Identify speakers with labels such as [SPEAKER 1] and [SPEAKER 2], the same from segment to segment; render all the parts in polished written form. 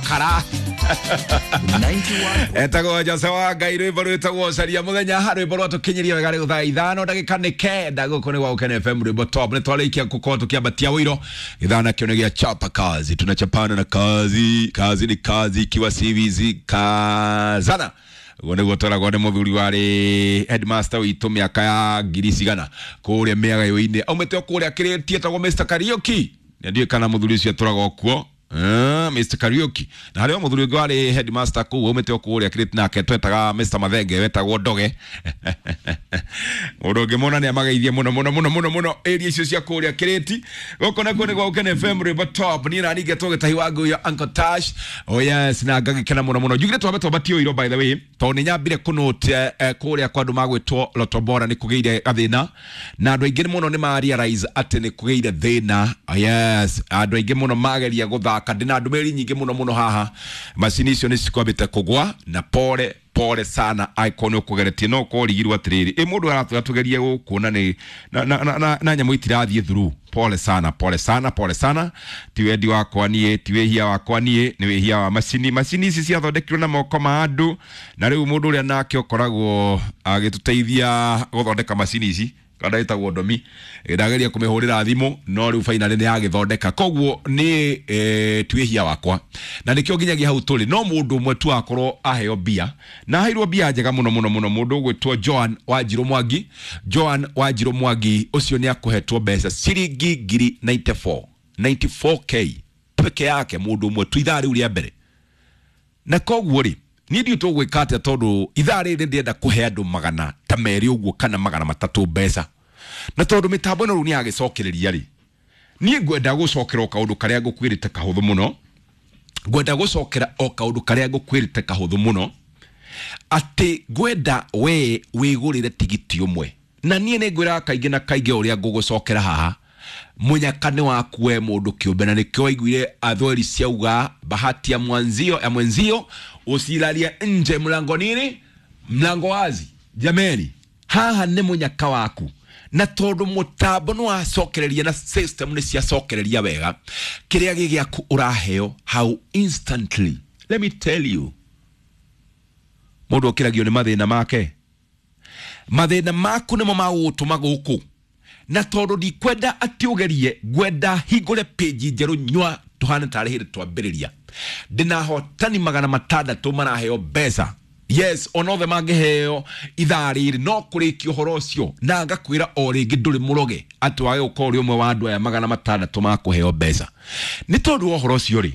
[SPEAKER 1] Makara. Etagwo Jose wa Ngai, rwimbo rwitagwo Caria Muthenya, rwimbo rwatũkinyirie wega rĩu thaa 5 ndagĩka nĩ 9 gũkũ nĩ gwa Gũkena FM, rwimbo top. Nĩ twarĩkia gũkorwo tũkĩambatia wũiro gĩthaa nakĩo nĩ gĩa chapa kazi, tunachapana na kazi, kazi ni kazi, ikiwa CVZ kazana. Ũguo nĩguo tweragwo nĩ mũthuri warĩ headmaster witũ mĩaka ya ngiri cigana kũrĩa mĩagayo-inĩ, aumĩte o kũrĩa kĩrĩtie, etagwo Mr Kariuki. Ndiũĩ kana mũthuri ũcio atũraga o kuo. Mr Kariuki. Na harĩ o mũthuri ũngĩ warĩ headmaster kũu aumĩte o kũrĩa kĩrĩti, nake twetaga Mr Mathenge, wetagwo Ndoge. Mũndũ ũngĩmona nĩ amageithie mũno mũno mũno mũno mũno area icio cia kũrĩa kĩrĩti. Gũkũ nakuo nĩ gwa Gũkena FM, rwĩmbo top. Niĩ na ningĩ gĩtahi wa nguyo Uncle Tash. Oh yes, na ngagĩkena mũno mũno. Njugire twambe twambatie ũiro, by the way, tondũ nĩ nyambire kũnote kũrĩa kwa andũ magwĩtwo Lotto Bora nĩ kũgĩire gathĩna, na andũ aingĩ mũno nĩ ma realize atĩ nĩ kũgĩire thĩna. Oh yes, andũ aingĩ mũno mageria gũthaka, ndĩna ndũmĩrĩri nyingĩ mũno mũno haha, macini icio nĩ cikwambĩte kũgwa. Na pole pole sana angĩkorwo nĩ ũkũgeretie, no ũkorwo ũrigirwo atĩrĩrĩ, ĩ mũndũ aratwĩra tũgerie gũkũ na nĩ na nyamũ itirathiĩ through. Pole sana, pole sana, pole sana. Ti wendi wakwa niĩ, ti wĩhia wakwa niĩ, nĩ wĩhia wa macini. Macini ici ciathondekirwo na moko ma andũ, na rĩu mũndũ ũrĩa nake ũkoragwo agĩtũteithia gũthondeka macini ici kana ĩtagwo Ndomi, ndageria kũmĩhũrĩra thimũ, no rĩu finally nĩ yagĩthondeka. Koguo nĩ ti wĩhia wakwa, na nĩkĩo nginyagia hau tũrĩ no mũndũ ũmwe tu akorwo aheo mbia, na aheirwo mbia njega mũno mũno mũno, mũndũ ũgwĩtwo Joan Wanjirũ Mwangi. Joan Wanjirũ Mwangi ũcio nĩ akũhetwo mbeca ciringi ngiri 94, 94K peke yake, mũndũ ũmwe tu ithaa rĩu rĩa mbere. Na koguo rĩ, niĩ ndiũ tũgwĩka atĩa, tondũ ithaa rĩrĩ ndĩrenda kũhe andũ 200 ũguo kana 300 mbeca, na tondũ mĩtambo ĩno rĩu nĩ yagĩcokereria rĩ, niĩ ngwenda gũcokera o kaũndũ karĩa ngũkwĩrĩte kahũthũ mũno. Ngwenda gũcokera o kaũndũ karĩa ngũkwĩrĩte kahũthũ mũno, atĩ ngwenda we wĩgũrĩre tigiti ũmwe. Na niĩ nĩ ngwĩraga kaingĩ na kaingĩ, ũrĩa ngũgũcokera haha, mũnyaka nĩ waku we mũndũ kĩũmbe, na nĩkĩo waiguire athweri ciauga bahati ya mwanzio ya mwenzio usilalie nje, mlango nini, mlango wazi. Jameni, haha nĩ mũnyaka waku, na tondũ mũtambo nĩ wacokereria na system nĩ ciacokereria wega, kĩrĩa gĩ gĩaku ũraheo hau instantly. Let me tell you, mũndũ okĩragio nĩ mathĩna make, mathĩna maku nĩmo magũgũtũma gũkũ. Na tondũ ndikwenda atĩ ũgerie, ngwenda hingũre page njerũ nyua tũhane tarĩ hĩndĩ twambĩrĩria. Ndĩna ahotani 600 maraheo mbeca. Yes, ona othe mangĩheo ithaa rĩrĩ no kũrĩkia ũhoro ũcio, na ngakwĩra o rĩngĩ, ndũrĩ mũroge atĩ wage gũkorwo ũrĩ ũmwe wa andũ aya 600 makũheo mbeca. Nĩ tondũ wa ũhoro ũcio rĩ,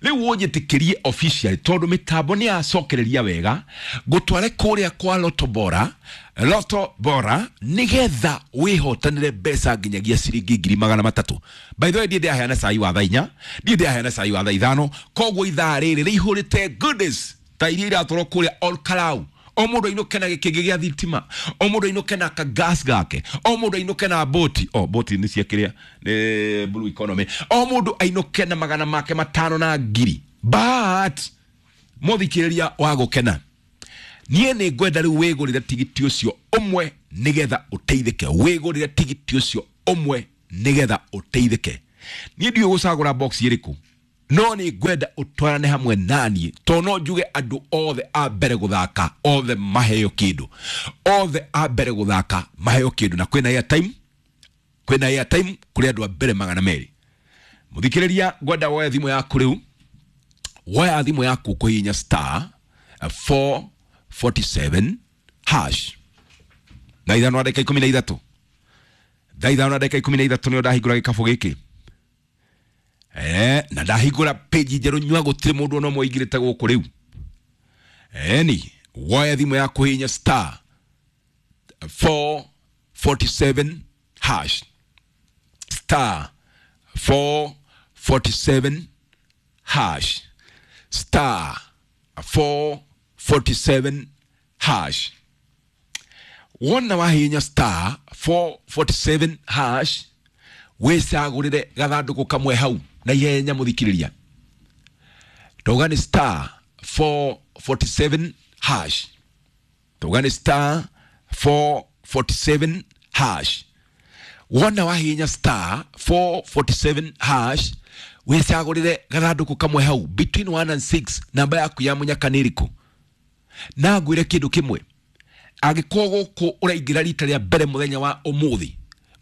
[SPEAKER 1] rĩu ũnjĩtĩkĩrie officially, tondũ mĩtambo nĩ yacokereria wega, ngũtware kũrĩa kwa Lotto Bora, Lotto Bora, nĩgetha wĩhotanĩre mbeca nginyagia ciringi 300,000. By the way, ndiĩ ndĩraheana cai wa thaa 4, ndiĩ ndĩraheana cai wa thaa 5. Koguo ithaa rĩrĩ rĩihũrĩte goodies ta iria iratwarwo kũrĩa Ol Kalou, o mũndũ ainũke na gĩkĩngĩ gĩa thitima, o mũndũ ainũke na kagas gake, o mũndũ ainũke na boti, o boti nĩ cia kĩrĩa nĩ blue economy, o mũndũ ainũke na magana make matano na ngiri. But mũthikĩrĩria wa Gũkena, niĩ nĩ ngwenda rĩu wĩgũrĩre tigiti ũcio ũmwe nĩgetha ũteithĩke. Wĩgũrĩre tigiti ũcio ũmwe nĩgetha ũteithĩke. Niĩ ndiũĩ gũcagũra box ĩrĩkũ, no nĩ ngwenda ũtwarane hamwe naniĩ, tondũ no njuge andũ othe a mbere gũthaka othe maheo kĩndũ, othe a mbere gũthaka maheo kĩndũ. Na kwĩna airtime, kwĩna airtime kũrĩ andũ a mbere 200. Mũthikĩrĩria, ngwenda woe thimũ yaku rĩu, woya thimũ yaku kũhihinya star 447 hash. Thaa 5 na ndagĩka 13, thaa 5 na ndagĩka 13 nĩo ndahingũra gĩkabũ gĩkĩ. Na ndahingũra page njerũ nyua, gũtirĩ mũndũ ona ũmwe ũingĩrĩte gũkũ rĩu. Eni woya thimũ yaku, hihinya star 447 hash, star 447 hash, star 447 hash. Wona wahihinya star 447 hash, wĩcagũrĩre gathandũkũ kamwe hau na ihenya. Mũthikĩrĩria, tauga nĩ star 447 hash, tauga nĩ star 447 hash. Wona wahihinya star 447 hash, Wĩcagũrĩre gathandũkũ kamwe hau between 1 and 6, namba yaku ya mũnyaka nĩ ĩrĩkũ? Na ngwĩre kĩndũ kĩmwe, angĩkorwo gũkũ ũraingĩra rita rĩa mbere mũthenya wa ũmũthĩ,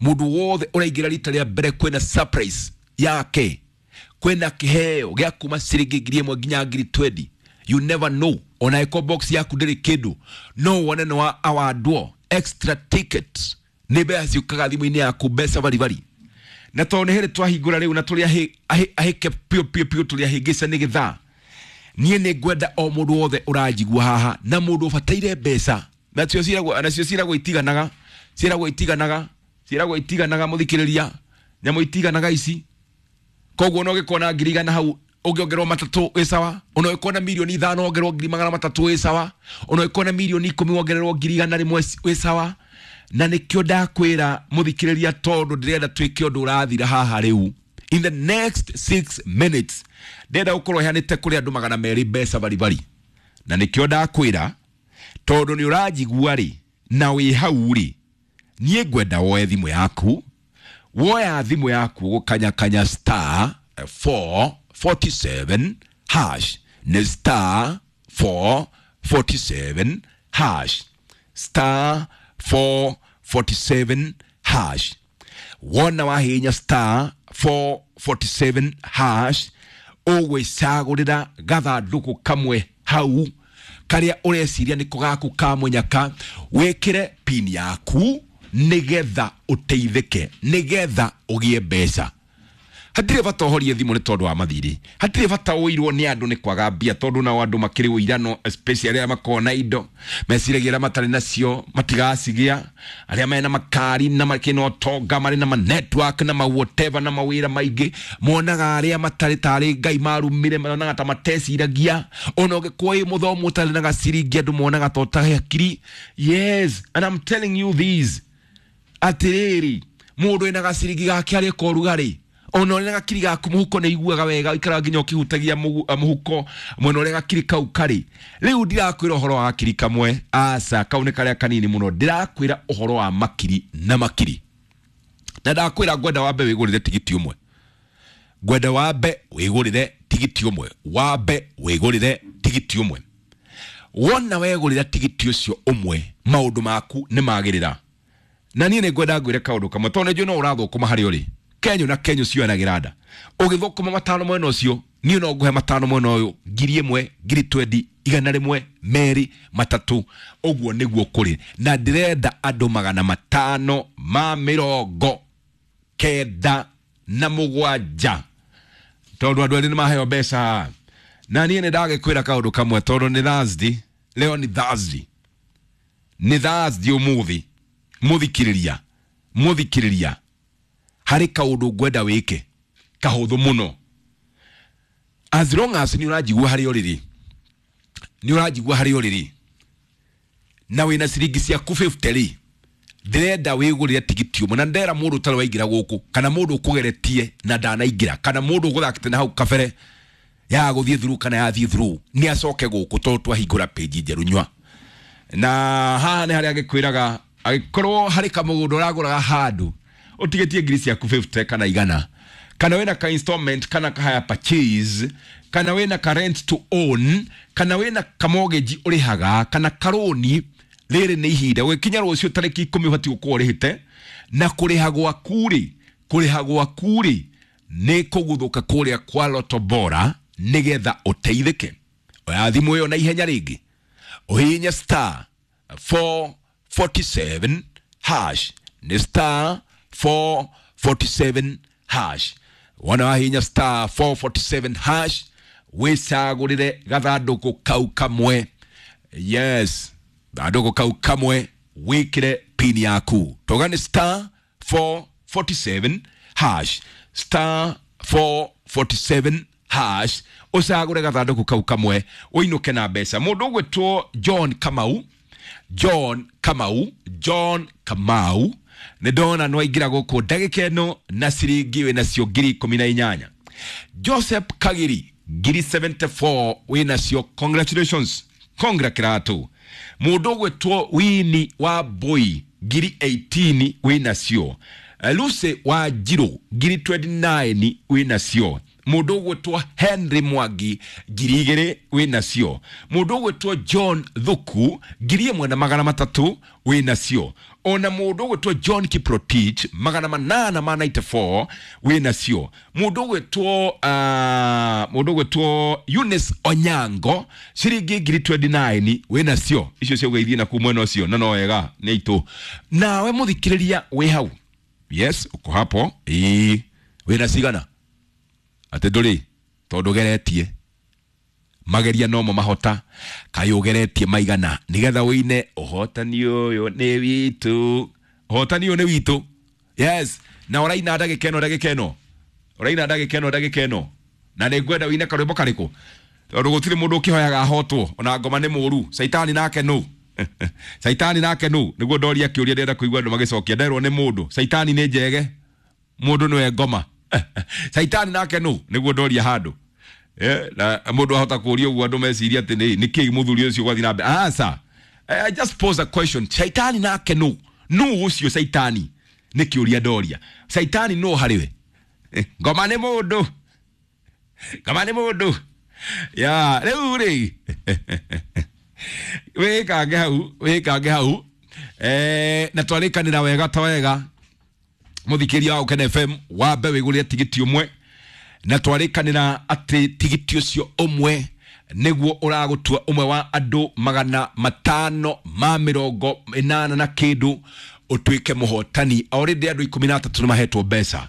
[SPEAKER 1] mũndũ wothe ũraingĩra rita rĩa mbere kwĩna surprise yake, kwĩna kĩheo gĩa kuma ciringi 1,000 nginya 20,000. You never know, ona ĩko box yaku ndĩrĩ kĩndũ, no wone nĩ wa awardwo extra ticket. Nĩ mbeca ciũkaga thimũ-inĩ yaku, mbeca baribari. Na tondũ nĩ hĩrĩ twahingũra rĩu na tũrĩ ahĩke piũ piũ piũ, tũrĩ ahĩngĩca nĩ gĩthaa, niĩ nĩ ngwenda o mũndũ wothe ũranjigua haha na mũndũ ũbataire mbeca, nacio ciragwo, nacio ciragwo itiganaga, ciragwo itiganaga, ciragwo itiganaga, mũthikĩrĩria, nyamũ itiganaga ici. Koguo no gĩkona 100,000 hau ũngĩongererwo 3 wĩ sawa, ona ũngĩkona 5,000,000 wongererwo 300,000 wĩ sawa, ona ũngĩkona 10,000,000 wongererwo 100,000 wĩ sawa. Na nĩkĩo ndakwĩra mũthikĩrĩria, tondũ ndĩrenda twĩke ũndũ ũrathira haha rĩu in the next 6 minutes, ndĩrenda gũkorwo heanĩte kũrĩ andũ 200 mbeca baribari. Na nĩkĩo ndakwĩra, tondũ nĩ ũranjigua rĩ na wĩ hau rĩ, niĩ ngwenda woe thimũ yaku. Woya thimũ yaku gũkanyakanya star 447 hash, nĩ star 447 hash, star 447 hash. Wona wahinya star 447 hash, ũgwĩcagũrĩra gathandũkũ kamwe hau karĩa ũreciria nĩko gaku ka mũnyaka, wĩkĩre pin yaku nĩgetha ũteithĩke, nĩgetha ũgĩe mbeca. Hatirĩ bata ũhorie thimũ nĩ tondũ wa mathirĩ, hatirĩ bata ũirwo nĩ andũ nĩ kwaga mbia, tondũ nao andũ makĩrĩ ũirano, especially arĩa makoragwo na indo meciragia arĩa matarĩ nacio matigacigĩa, arĩa mena makari na makĩrĩ na ũtonga, marĩ na ma network na ma whatever na mawĩra maingĩ, monaga arĩa matarĩ tarĩ Ngai marumire, monaga ta mateciragia. Ona ũngĩkorwo wĩ mũthomu ũtarĩ na gaciringi, andũ monaga ta ũtarĩ hakiri. Yes, and I'm telling you this, atĩrĩrĩ, mũndũ wĩna gaciringi gake arĩ ka ũrugarĩ, ona ũrĩa gakiri gaku mũhuko nĩ iguaga wega, ikaraga nginya ũkĩhutagia mũhuko mwena ũrĩa gakiri kau karĩ. Rĩu ndirakwĩra ũhoro wa gakiri kamwe, aca, kau nĩ karĩa kanini mũno. Ndĩrakwĩra ũhoro wa makiri na makiri. Na ndakwĩra ngwenda wambe wĩgũrĩre tigiti ũmwe, ngwenda wambe wĩgũrĩre tigiti ũmwe, wambe wĩgũrĩre tigiti ũmwe. Wona wegũrĩra tigiti ũcio ũmwe, maũndũ maku nĩ magĩrĩra. Na niĩ nĩ ngwenda ngwĩre kaũndũ kamwe, tondũ nĩ njũĩ no ũrathũkũma harĩa ũrĩ. Kenyo na kenyo cioyanagĩra nda. Ũgĩthũkũma 5 mwena ũcio, niĩ no ngũhe 5 mwena ũyũ, 1,000, 20,000, 100, 2, 3. Ũguo nĩguo kũrĩ. Na ndĩrenda andũ 597, tondũ andũ erĩ nĩ maheo mbeca. Na niĩ nĩ ndagĩkwĩra kaũndũ kamwe, tondũ nĩ Thursday, leo ni Thursday, nĩ Thursday ũmũthĩ. Mũthikĩrĩria, mũthikĩrĩria, harĩ kaũndũ ngwenda wĩke kahũthũ mũno. As long as nĩ ũranjigua harĩa ũrĩ rĩ, nĩ ũranjigua harĩa ũrĩ rĩ, na wĩna ciringi ciaku 50 rĩ, ndĩrenda wĩgũrĩre tigiti ũmwe. Na ndera mũndũ ũtarĩ waingĩra gũkũ, kana mũndũ ũkũgeretie na ndanaingĩra, kana mũndũ ũgũthakĩte na hau kabere ya gũthiĩ through kana yathiĩ through, nĩ acoke gũkũ, tondũ twahingũra page njerũ nyua. Na haha nĩ harĩa agĩkwĩraga, angĩkorwo harĩ kamũgũnda ũragũraga handũ, ũtigĩtie ngiri ciaku 50 kana 100, kana wĩna ka installment, kana ka hire purchase, kana wĩna ka rent to own, kana wĩna ka mortgage ũrĩhaga, kana karoni, rĩrĩ nĩ ihinda. Ũgĩkinya rũciũ tarĩki 10 ũbatiĩ gũkorwo ũrĩhĩte. Na kũrĩha gwaku rĩ, kũrĩha gwaku rĩ nĩ kũguthũka kũrĩa kwa Lotto Bora nĩgetha ũteithĩke. Oya thimũ ĩyo na ihenya rĩngĩ, ũhihinye star 447 hash, nĩ star 447 hash. Wona wahihinya star 447 hash, wĩcagũrĩre gathandũkũ kau kamwe. Yes, gathandũkũ kau kamwe, wĩkĩre pin yaku. Toga nĩ star 447 hash, star 447 hash, ũcagũre gathandũkũ kau kamwe, ũinũke na mbeca. Mũndũ ũgwĩtwo John Kamau, John Kamau, John Kamau, nĩ ndona nĩ waingĩra gũkũ ndagĩka ĩno na ciringi wĩ nacio 18,000. Joseph Kagiri 74,000 wĩ nacio, congratulations, congra kĩratũ. Mũndũ ũgwĩtwo Winnie wa Mbui 18,000 wĩ nacio. Lucy wa Njirũ 29,000 wĩ nacio. Mũndũ ũgwĩtwo Henry Mwangi 2,000 wĩnacio. Mũndũ ũgwĩtwo John Thuku 1,300 wĩnacio. Ona mũndũ ũgwĩtwo John Kiprotich 894 wĩnacio. Mũndũ ũgwĩtwo mũndũ ũgwĩtwo Eunice Onyango ciringi 29,000 wĩnacio. Icio ciauga ithiĩ naku mwena ũcio na no wega nĩ aitũ. Nawe mũthikĩrĩria wĩ hau, yes, uko hapo, ĩĩ, wĩna cigana? Atĩ ndũrĩ tondũ ũgeretie mageria nomo mahota, kaĩ ũgeretie maigana nĩgetha wĩine ũhotani ũyũ nĩ witũ, ũhotani ũyũ nĩ witũ. Yes, na ũraina ndagĩka ĩno, ndagĩka ĩno ũraina ndagĩka ĩno, ndagĩka ĩno, na nĩ ngwenda wĩine karwĩmbo karĩkũ, tondũ gũtirĩ mũndũ ũkĩhoyaga ahotwo, ona ngoma nĩ mũru. Caitani nake nũ? Caitani nake nũ? Nĩguo ndoria kĩũria, ndĩrenda kũigua andũ magĩcokia. Nderwo nĩ mũndũ caitani nĩ njege, mũndũ nĩwe ngoma. Caitani nake nũ? Nĩguo ndoria handũ. Na mũndũ ahota kũũria ũguo andũ meciria atĩ nĩ kĩĩ mũthuri ũcio gwathiĩ na mbere. Aca, I just pose a question. Caitani nake nũ? Nũ ũcio caitani? Nĩ kĩũria ndoria. Caitani nũ harĩ we? Ngoma nĩ mũndũ, ngoma nĩ mũndũ ya rĩu rĩ, wĩkange hau, wĩkange hau. Na twarĩkanĩra wega ta wega, mũthikĩria wa Ũkene FM, wambe wĩgũrĩre tigiti ũmwe, na twarĩkanĩra atĩ tigiti ũcio ũmwe nĩguo ũragũtua ũmwe wa andũ 580 na kĩndũ ũtuĩke mũhotani. Already andũ 13 nĩ mahetwo mbeca.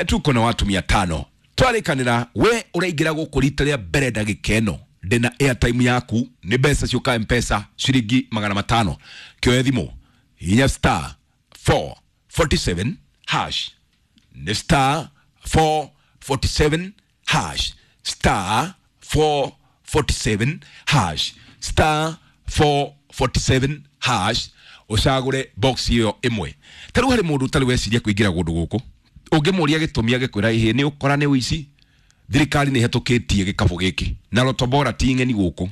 [SPEAKER 1] Tuko na watu 500. Twarĩkanĩra we ũraingĩra gũkũ rita rĩa mbere ndagĩka ĩno, ndĩna airtime yaku, nĩ mbeca ciũka Mpesa ciringi 500. Kĩoe thimũ, hihinya star 447 hash, nĩ star 447 hash, star 447 hash, star 447 hash, ũcagũre box ĩyo ĩmwe. Ta rĩu harĩ mũndũ ũtarĩ weciria kũingĩra kũndũ gũkũ, ũngĩmũria gĩtũmi agĩkwĩra ĩhĩ nĩ ũkora nĩ ũici, thirikari nĩ ĩhetũkĩtie gĩkabũ gĩkĩ na Lotto Bora ti ng'eni gũkũ.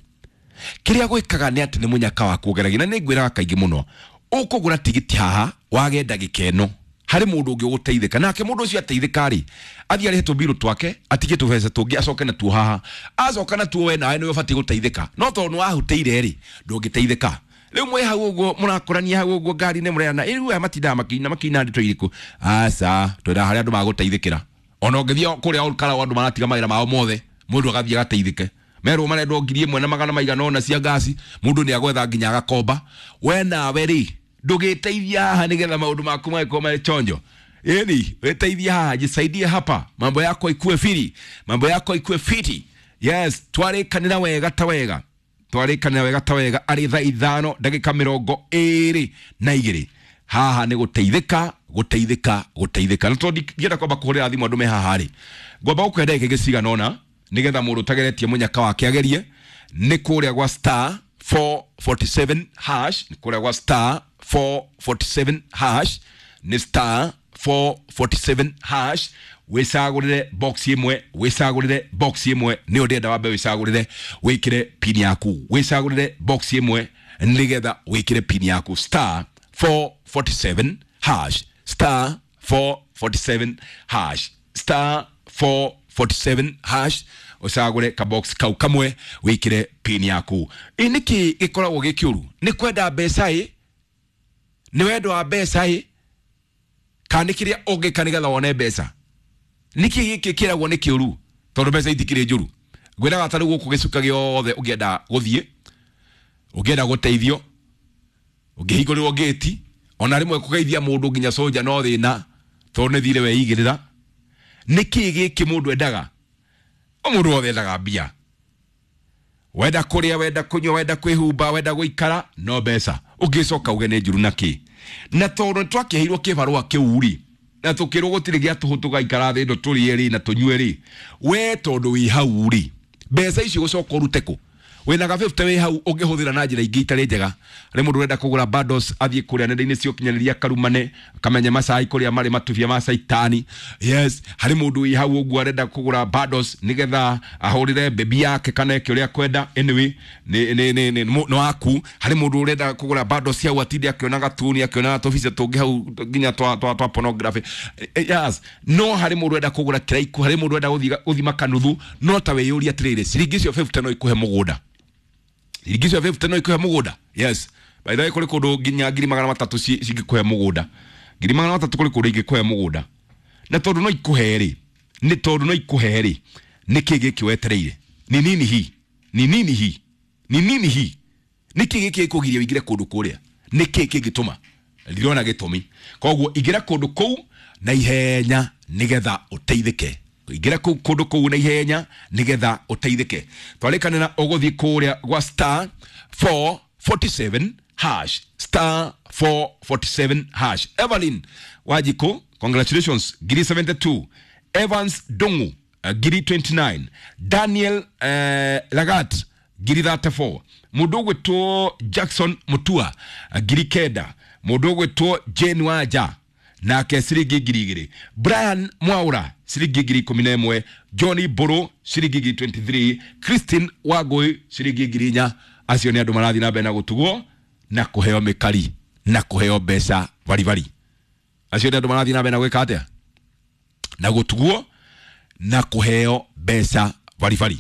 [SPEAKER 1] Kĩrĩa gwĩkaga nĩ atĩ nĩ mũnyaka waku ũgeragia, na nĩ ngwĩraga kaingĩ mũno, ũkũgũra tigiti haha wage ndagĩka ĩno, harĩ mũndũ ũngĩ ũgũteithĩka nake. Mũndũ ũcio ateithĩka rĩ, athiĩ arĩhe tũmbirũ twake, atige tũbeca tũngĩ, acoke natuo haha. Acoka natuo, we nawe nĩwe ũbatiĩ gũteithĩka, no tondũ nĩ wahutĩire rĩ, ndũngĩteithĩka. Rĩu mwĩ hau ũguo mũrakũrania hau ũguo ngari-inĩ, mũrerana rĩu aya matindaga makĩina makĩina ndeto irĩkũ? Aca, twĩra harĩa andũ magũteithĩkĩra. Ona ũngĩthiĩ kũrĩa Olkalau, andũ maratiga mawĩra mao mothe, mũndũ agathiĩ agateithĩke. Merwo marendwo 1,000 na maigana ũna cia ngasi, mũndũ nĩ agwetha nginya agakomba. We nawe rĩ, ndũgĩteithia haha nĩgetha maũndũ maku magĩkorwo marĩ chonjo. Ĩni wĩteithie haha, jisaidie hapa, mambo yako ikue fiti, mambo yako ikue fiti. Yes, twarĩkanĩra wega ta wega, twarĩkanĩra wega ta wega, arĩ thaa 5:22 haha nĩ gũteithĩka, gũteithĩka, gũteithĩka. Na tondũ ndienda kwamba kũhũrĩra thimũ andũ me haha rĩ, ngwamba gũkũhe ndagĩka ingĩ cigana ũna nĩgetha mũndũ ũtageretie mũnyaka wake agerie. Nĩ kũrĩa gwa star 447 hash, nĩ kũrĩa gwa star 447 hash, nĩ star 447 hash, wĩcagũrĩre box ĩmwe, wĩcagũrĩre box ĩmwe. Nĩyo ndĩrenda wambe wĩcagũrĩre, wĩkĩre pin yaku, wĩcagũrĩre box ĩmwe nĩgetha wĩkĩre pin yaku, star 447 hash, star 447 hash, star 447 hash, ũcagũre kabox kau kamwe, wĩkĩre pin yaku. Ĩ nĩkĩ gĩkoragwo gĩ kĩũru? Nĩ kwenda mbeca? Ĩ nĩ wendo wa mbeca? Ĩ kana nĩ kĩrĩa ũngĩka nĩgetha wone mbeca? Nĩkĩ gĩkĩ kĩragwo nĩ kĩũru? Tondũ mbeca itikĩrĩ njũru. Ngwĩraga ta rĩu gũkũ gĩcuka gĩothe, ũngĩenda gũthiĩ, ũngĩenda gũteithio, ũngĩhingũrĩrwo ngĩti, ona rĩmwe kũgeithia mũndũ nginya soja no thĩna, tondũ nĩ thirĩ weigĩrĩra. Nĩkĩ gĩkĩ mũndũ endaga? O mũndũ wothe endaga mbia. Wenda kũrĩa, wenda kũnyua, wenda kwĩhumba, wenda gũikara, no mbeca. Ũngĩcoka uge nĩ njũru nakĩ? Na tondũ nĩ twakĩheirwo kĩbarũa kĩu rĩ, na tũkĩrwo gũtirĩ gĩa tũhũ, tũgaikara thĩ ĩno tũrĩe rĩ na tũnyue rĩ, we tondũ wĩ hau rĩ, mbeca icio gũcoka ũrute kũ? Wĩna ga 50 wĩ hau ũngĩhũthĩra na njĩra ingĩ itarĩ njega. Harĩ mũndũ ũrenda kũgũra bundles athiĩ kũrĩa nenda-inĩ cia ũkinyanĩria karumane kamenye macai kũrĩa marĩ matubia ma caitani. Yes, harĩ mũndũ wĩ hau ũguo arenda kũgũra bundles nĩgetha ahũrĩre bebi yake kana eke ũrĩa akwenda. Anyway, nĩ waku. Harĩ mũndũ ũrenda kũgũra bundles hau atinde akĩona gatuni akĩona tũbica tũngĩ hau nginya twa pornography. Yes, no harĩ mũndũ ũrenda kũgũra kĩraiku, harĩ mũndũ ũrenda gũthima kanuthu, no ta wĩyũrie atĩrĩrĩ, ciringi icio 50 no ikuhe mũgũnda? Ciringi icio 50 no ikuhe mũgũnda? Yes, by the way, kũrĩ kũndũ nginya 300,000 cingĩkũhe mũgũnda. 300,000 kũrĩ kũndũ ingĩkũhe mũgũnda. Na tondũ no ikuhe rĩ, nĩ tondũ no ikuhe rĩ, nĩ kĩ gĩkĩ wetereire? Ni nini hii? Ni nini hii? Ni nini hii? Nĩ kĩ gĩkĩ gĩkũgiria ũingĩre kũndũ kũrĩa? Nĩ kĩ kĩngĩtũma? Ndirona gĩtũmi. Koguo ingĩra kũndũ kũu na ihenya nĩgetha ũteithĩke. Ingĩra kũndũ kũu na ihenya nĩgetha ũteithĩke. Twarĩkanĩra ũgũthiĩ kũrĩa gwa star 447 hash, star 447 hash. Evelyn Wajiko, congratulations, ngiri 72. Evans Dongu, ngiri 29. Daniel Lagat, ngiri 34. Mũndũ ũgwĩtwo Jackson Mutua, ngiri 9. Mũndũ ũgwĩtwo Jane Wanja nake ciringi 2,000. Brian Mwaura ciringi 11,000. Johnny Mburu ciringi 23,000. Christine Wangui ciringi 4,000. Acio nĩ andũ marathiĩ na mbere na gũtugwo na kũheo mĩkari na kũheo mbeca baribari. Acio nĩ andũ marathiĩ na mbere na gwĩka atĩa? Na gũtugwo na kũheo mbeca baribari.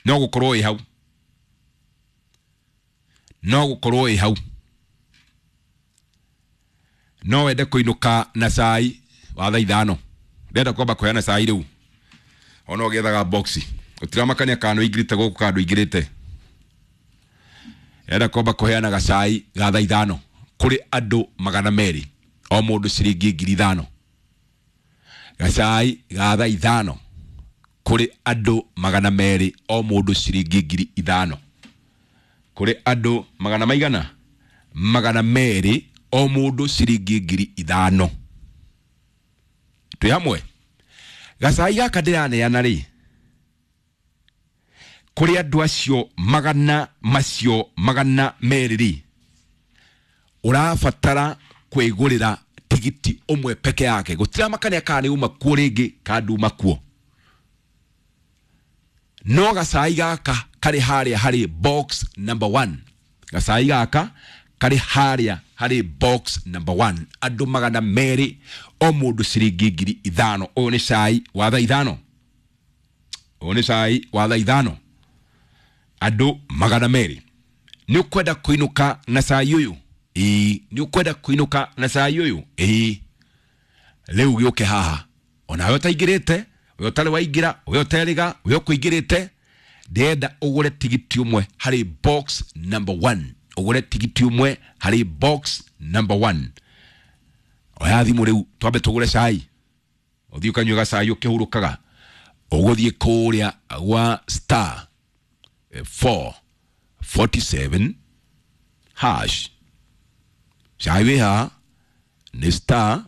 [SPEAKER 1] No gũkorwo ĩ hau, no gũkorwo ĩ hau, no wende kũinũka na cai wa thaa 5. Ndĩrenda kwamba kũheana cai rĩu, ona ũgĩethaga boxi ũtiramakania kana nĩ ũingĩrĩte gũkũ kana ndũingĩrĩte. Ndĩrenda kwamba kũheana gacai ga thaa 5 kũrĩ andũ 200, o mũndũ ciringi 5,000. Gacai ga thaa 5 kũrĩ andũ 200, o mũndũ ciringi 5,000. Kũrĩ andũ magana maigana? 200, o mũndũ ciringi 5,000. Twĩ hamwe? Gacai gaka ndĩraneana rĩ, kũrĩ andũ acio magana macio 200 rĩ, ũrabatara kwĩgũrĩra tigiti ũmwe peke yake. Gũtiramakania kana nĩ uma kuo rĩngĩ kana nduma kuo. No gacai gaka karĩ harĩa harĩ box number 1. Gacai gaka karĩ harĩa harĩ box number 1. Andũ 200, o mũndũ ciringi 5,000. Ũyũ nĩ cai wa thaa 5. Ũyũ nĩ cai wa thaa 5. Andũ 200. Nĩ ũkwenda kũinũka na cai ũyũ? Ĩĩ. Nĩ ũkwenda kũinũka na cai ũyũ? Ĩĩ. Rĩu gĩũke haha. Onawe ũtaingĩrĩte, we ũtarĩ waingĩra, we ũterĩga, we ũkũingĩrĩte, ndĩrenda ũgũre tigiti ũmwe harĩ box number 1. Ũgũre tigiti ũmwe harĩ box number 1. Oya thimũ rĩu twambe tũgũre cai. Ũthiĩ ũkanyue gacai ũkĩhurũkaga. Ũgũthiĩ kũrĩa gwa star 447 hash. Cai wĩ haha nĩ star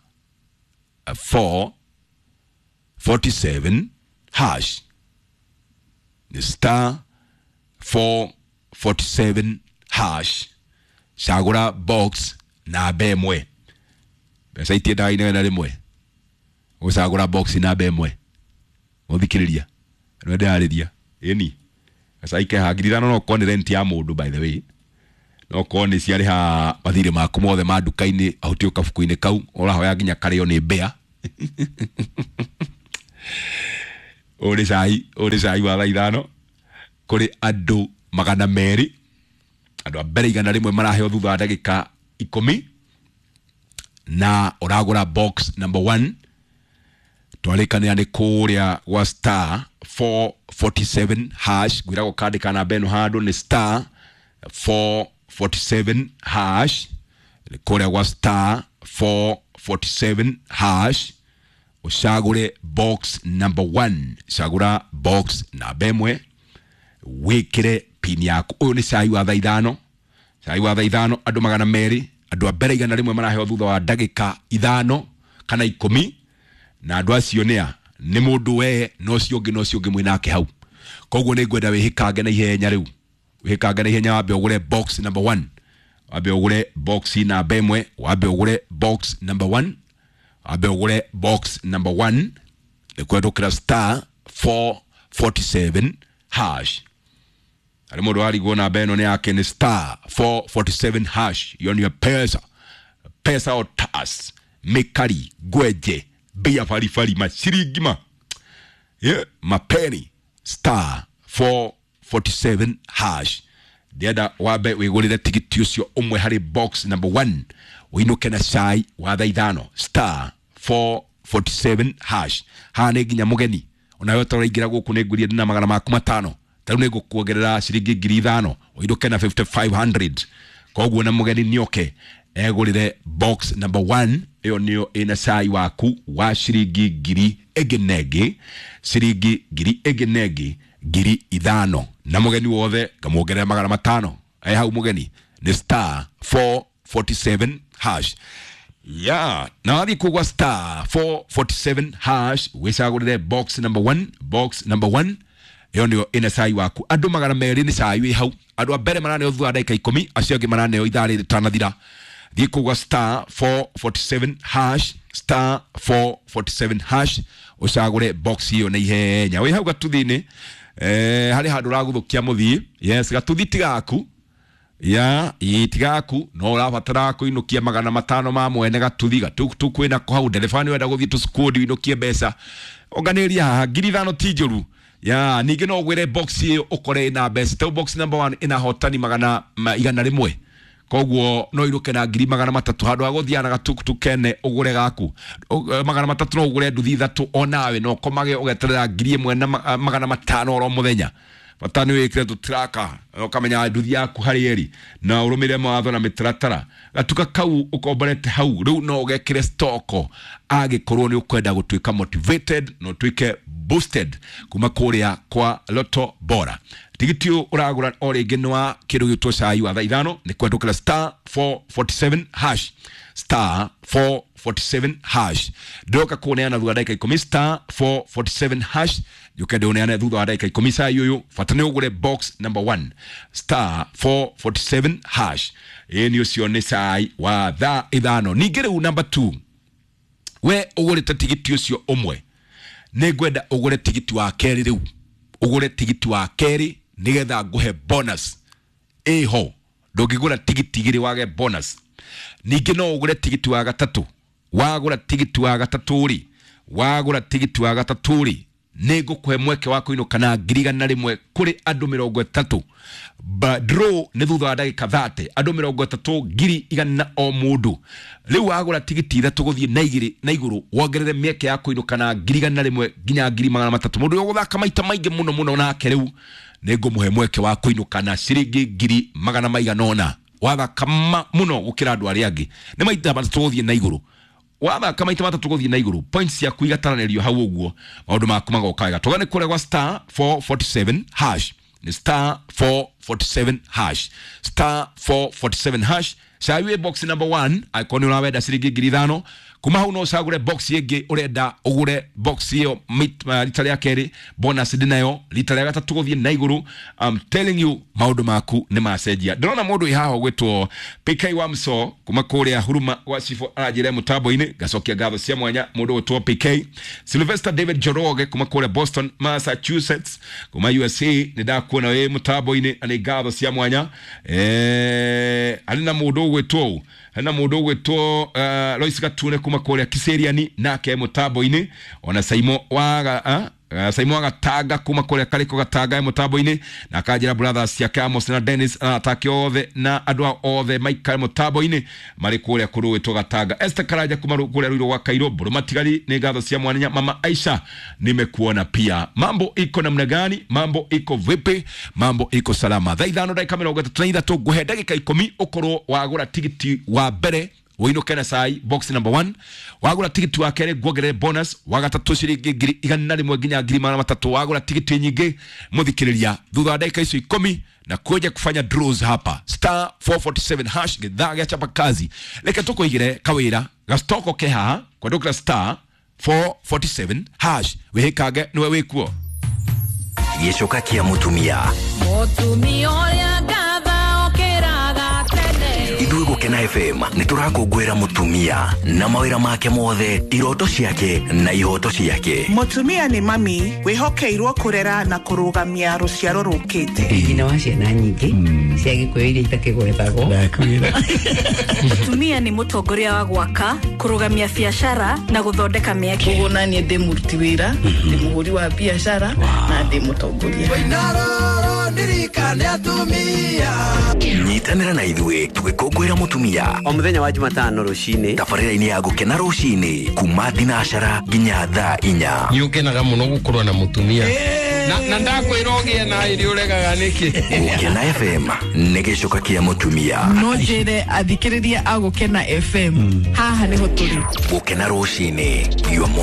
[SPEAKER 1] 447 hash. Nĩ star 447 hash. Cagũra box namba 1. Mbeca itiendaga inegene rĩmwe. Ũgũcagũra box namba 1. Ũthikĩrĩria. Nĩwe ndĩrarĩria. Ĩni. Gacai keha 5,000 no ũkorwo nĩ rent ya mũndũ by the way. No ũkorwo nĩ ciarĩha mathirĩ maku mothe ma nduka-inĩ ahutio kabuku-inĩ kau ũrahoya nginya karĩo nĩ mbĩa. Ũyũ nĩ cai, ũyũ nĩ cai wa thaa 5 kũrĩ andũ 200. Andũ a mbere 100 maraheo thutha wa ndagĩka 10, na ũragũra box number 1. Twarĩkanĩra nĩ kũrĩa gwa star 447 hash. Ngwĩragwo kandĩka namba ĩno handũ nĩ star 447 hash. Nĩ kũrĩa gwa star 447 hash. Ũcagũre box number 1. Cagũra box namba 1, wĩkĩre pin yaku. Ũyũ nĩ cai wa thaa 5. Cai wa thaa 5, andũ 200. Andũ a mbere 100 maraheo thutha wa ndagĩka 5 kana 10. Na andũ acio nĩ a? Nĩ mũndũ we na ũcio ũngĩ na ũcio ũngĩ mwĩ nake hau. Koguo nĩ ngwenda wĩhĩkange na ihenya rĩu, wĩhĩkange na ihenya, wambe ũgũre box number 1, wambe ũgũre box namba ĩmwe, wambe ũgũre box number 1, wambe ũgũre box number 1 nĩ kwendũkĩra star 447 hash. Harĩ mũndũ warigwo namba ĩno nĩ yake, nĩ star 447 hash. Iyo nĩyo pesa pesa otas mikari ngwenje mbia baribari maciringi ma yeah, mapeni star 447 hash. Ndĩrenda wambe wĩgũrĩre tigiti ũcio ũmwe harĩ box number 1 ũinũke na cai wa thaa 5 star 447 hash. Haha nĩ nginya mũgeni onawe ũtaraingĩra gũkũ nĩ ngũria ndĩna magana maku 500, tarĩu nĩ ngũkuongerera ciringi 5,000 ũinũke na 5500. Koguo na mũgeni nĩoke egũrĩre box number 1, ĩyo nĩyo ĩna cai waku wa ciringi ngiri ĩngĩ na ĩngĩ, ciringi ngiri ĩngĩ na ĩngĩ 5,000, na mũgeni wothe ngamuongerera magana 500. E hau mũgeni nĩ star 447 hash. Ya na wathiĩ kugwa star 447 hash wĩcagũrĩre box number 1, box number 1 ĩyo nĩyo ĩna cai waku. Andũ 200 nĩ cai wĩ hau, andũ a mbere maraneo thutha wa ndagĩka 10, acio angĩ maraneo ithaa rĩrĩ rĩtanathira. Thiĩ kugwa star 447 hash, star 447 hash ũcagũre box ĩyo na ihenya. Wĩ hau gatuthi-inĩ, harĩ handũ ũraguthũkia mũthii. Yes, gatuthi ti gaku ya itigaku no ũrabatara kũinũkia 500 ma mwene gatuthi gatukutuku kwĩna ko hau ndereba nĩ wenda gũthiĩ tũcukũndi ũinũkie mbeca onganĩria haha 5,000 ti njũru. Ya ningĩ no ũgwĩre box ĩyo ũkore ĩna mbeca ta box number 1 ĩna hotani 101, koguo no iruke na 300,000 handũ ha gũthiaga na gatukutuku kene ũgũre gaku 300 no ũgũre nduthi 3 onawe no ũkomage ũgeterera 1,500 oro mũthenya. Bata nĩ wĩkĩre tũtiraka ũkamenya nduthi yaku harĩ ĩrĩ na ũrũmĩrĩre mawatho na mĩtaratara. Gatuka kau ũkomborete hau rĩu no ũgekĩre stoko angĩkorwo nĩ ũkwenda gũtuĩka motivated na ũtuĩke boosted kuma kũrĩa kwa Lotto Bora. Tigiti ũyũ ũragũra o rĩngĩ nĩ wa kĩndũ gĩtwo cai wa thaa 5 nĩ kwendũkĩra star 447 hash, star 447 hash. Ndĩroka kũneana thutha wa ndagĩka 10 star 447 hash njuke ndĩũneane thutha wa ndagĩka 10 cai ũyũ. Bata nĩ ũgũre box number 1 star 447 hash. Ĩĩ nĩ ũcio nĩ cai wa thaa 5. Ningĩ rĩu number 2, we ũgũrĩte tigiti ũcio ũmwe, nĩ ngwenda ũgũre tigiti wa kerĩ rĩu, ũgũre tigiti wa kerĩ nĩgetha ngũhe bonus ĩho. Ndũngĩgũra tigiti igĩrĩ wage bonus. Ningĩ no ũgũre tigiti wa gatatũ, wagũra tigiti wa gatatũ rĩ, wagũra tigiti wa gatatũ rĩ, nĩ ngũkũhe mweke wa kũinũka na 100,000 kũrĩ andũ 30. Draw nĩ thutha wa ndagĩka 30, andũ 30 100,000 o mũndũ. Rĩu wagũra tigiti 3 gũthiĩ na igĩrĩ na igũrũ wongerere mĩeke ya kũinũka na 100,000 nginya 300,000. Mũndũ ũyũ ũgũthaka maita maingĩ mũno mũno nake rĩu nĩ ngũmũhe mweke wa kũinũka na ciringi 500,000. Wathaka mũno gũkĩra andũ arĩa angĩ, nĩ maita 3 gũthiĩ na igũrũ, wathaka maita 3 gũthiĩ na igũrũ, points ciaku igataranĩrio hau ũguo, maũndũ maku magoka wega. Tũgane kũrĩa gwa star 447 hash, nĩ star 447 hash, star 447 hash. Cai wĩ box number 1 angĩkorwo nĩ ũrawenda ciringi 5,000. Kuma hau no ũcagũre box ĩngĩ ũrenda ũgũre box ĩyo rita rĩa kerĩ, bonus ndĩnayo rita rĩa gatatũ gũthiĩ na igũrũ. I'm telling you maũndũ maku nĩ macenjia. Ndĩrona mũndũ wĩ haha ũgwĩtwo PK Wamso kuma kũrĩa Huruma gwa Cibũ aranjĩra mũtambo-inĩ, ngacokia ngatho cia mwanya mũndũ ũgwĩtwo PK. Sylvester David Njoroge kuma kũrĩa Boston Massachusetts kuma USA, nĩ ndakuona wĩ mũtambo-inĩ na nĩ ngatho cia mwanya. Harĩ na mũndũ ũgwĩtwo harĩ na mũndũ ũgwĩtwo Lois Gatune kuma kũrĩa Kiseriani nake mũtambo-inĩ, ona Saimo wa Saimo wa Gatanga kuma kũrĩa Karĩko Gatanga e mũtambo-inĩ, na akanjĩra brothers ciake Amos na Dennis na atake othe na andũ ao othe maikare mũtambo-inĩ marĩ kũrĩa kũrũĩtwo Gatanga. Esther Karanja kuma kũrĩa Ruiru gwa Kairũ Mbũrũ Matigari, nĩ ngatho cia mwanya. Mama Aisha nimekuona pia. Mambo iko namna gani? Mambo iko vipi? Mambo iko salama. Thaa 5 ndagĩka 33 ngũhe ndagĩka 10 ũkorwo wagũra tigiti wa mbere ũinũke na cai box number 1, wagũra tigiti wa kerĩ nguongerere bonus, wa gatatũ ciringi 100,000 nginya 300,000, wagũra tigiti nyingĩ mũthikĩrĩria thutha wa ndagĩka icio 10 na kuja kufanya draws hapa star 447 hash gĩthaa gĩa chapa kazi. Reke tũkũigĩre kawĩra gastoko ke haha kwandũkĩra star 447 hash wĩhĩkange nĩwe wĩkuo.
[SPEAKER 2] Gĩcoka kĩa mũtumia.
[SPEAKER 3] Mũtumia ũrĩa ngatha okĩraga tene.
[SPEAKER 2] Ithuĩ Gũkena FM nĩ tũrakũngũĩra mũtumia na mawĩra make mothe, iroto ciake na ihoto ciake.
[SPEAKER 4] Mũtumia nĩ mami wĩhokeirwo kũrera na kũrũgamia rũciaro rũkĩte.
[SPEAKER 5] Nyina wa ciana nyingĩ cia Gĩkũyũ iria itakĩgwetagwo.
[SPEAKER 6] Mũtumia nĩ mũtongoria wa gwaka, kũrũgamia biacara na gũthondeka mĩeke.
[SPEAKER 7] Koguo naniĩ ndĩ mũruti wĩra, ndĩ mũhũri wa biacara na ndĩ mũtongoria.
[SPEAKER 2] Nyitanĩra na ithuĩ tũgĩkũngũĩra mũtumia
[SPEAKER 8] o mũthenya wa Jumatano rũcinĩ
[SPEAKER 2] tabarĩra-inĩ ya Gũkena rũcinĩ kuma thinacara nginya thaa 4.
[SPEAKER 9] Nĩ ũkenaga mũno gũkorwo na mũtumia na ndakwĩra ũgĩe na ĩrĩ ũregaga nĩkĩ.
[SPEAKER 2] Gũkena FM nĩ gĩcoka kĩa mũtumia.
[SPEAKER 7] No njĩre athikĩrĩria a Gũkena FM haha nĩho tũrĩ.
[SPEAKER 2] Gũkena rũcinĩ, your morning.